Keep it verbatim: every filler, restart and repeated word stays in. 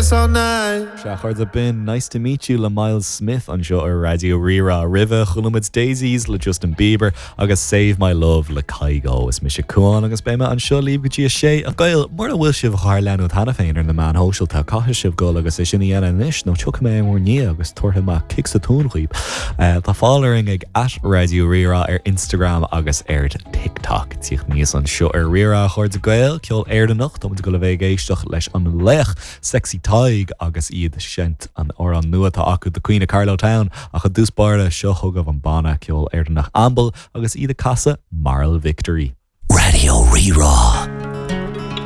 dance all night. Sea, a chairde, b'in Nice to Meet You le Myles Smith anseo ar Raidió Rí-Rá roimhe chuala muid Daisies le Justin Bieber agus Save My Love le Kygo is mise Cuán agus beidh mé anseo libh go dtí a sé a Ghaeil mura bhfuil sibh ár leanúint cheana féin ar na meáin shóisialta caithfidh sibh dul agus é sin a dhéanamh anois nó tiocfaidh mé bhur ndiaidh agus tabharfaidh mé cic sa tóin dhaoibh. Uh, tá fáil orainn ag at Raidió Rí-Rá ar Instagram agus ar TikTok. Tíocht níos anseo ar Rí-Rá a chairde Gael ceol Éireannach Tá go le bheith ag éisteacht leis an laoch Sexy Tadhg agus iad ag seinnt an amhrán nua atá acu The Queen of Carlow Town ach i dtús báire seo chugaibh an banna ceol Éireannach Amble agus iad ag casadh Moral Victory. Raidió Rí-Rá.